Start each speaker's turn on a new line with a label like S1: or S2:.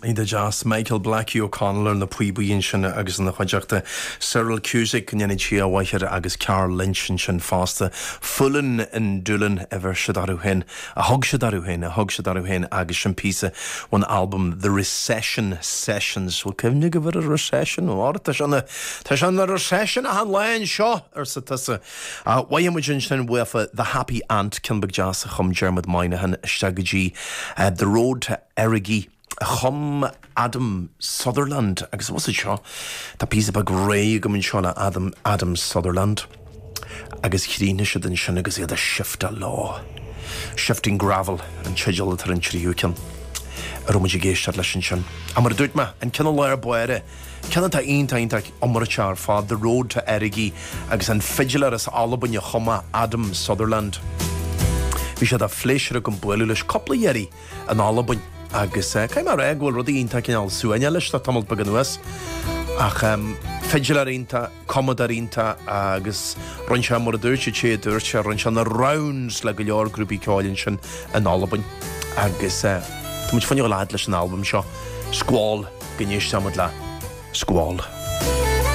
S1: Iontach deas. Michael Blackie O'Connell ar na píobaí ansin agus ina chuideachta Cyril Cusack, go ndéana Dia a mhaith air, agus Karl Lynch ansin fosta. Foolin' in Doolin a bheir siad orthu féin, a thug siad orthu féin, a thug siad orthu féin agus sin píosa ón albam The Recession Sessions. Bhfuil cuimhne agaibh ar an Recession? Ó, tá sé ina, tá sé ina Recession achan lá anseo, arsa tusa. Mhothaigh muid ansin uafa The Happy Ant, ceann beag deas a chum Dermot Moynihan isteach go dtí The Road to Errogie a chum Adam Sutherland agus what's it seo? Tá píosa beag réidh agam anseo le Adam, Adam Sutherland agus chríochnaigh siad ansin agus iad ag shiftáil leo. Shifting Gravel an teideal atá ar an tríú ceann a raibh muid ag éisteacht leis ansin. Ach mar a dúirt mé, an ceann i lár báire, ceann atá iontach iontach iomráiteach ar fad, The Road to Errogie agus an fidléir as Albain a chum é, Adam Sutherland. Bhí sé de phléisiúr agam bualadh leis cúpla iarraidh in Albain agus caithfidh mé a rá go bhfuil rudaí iontach cineál suaimhneach leis le tamall beag anuas. Ach fidléir iontach, cumadóir iontach agus rinne sé, mar a dúirt an té a dúirt sé, rinne sé na rounds le go leor grúpaí ceoil ansin in Albain. Agus tá muid fá choinne dul a fhad leis an albam seo, Squall, go n-éistfidh muid le Squall.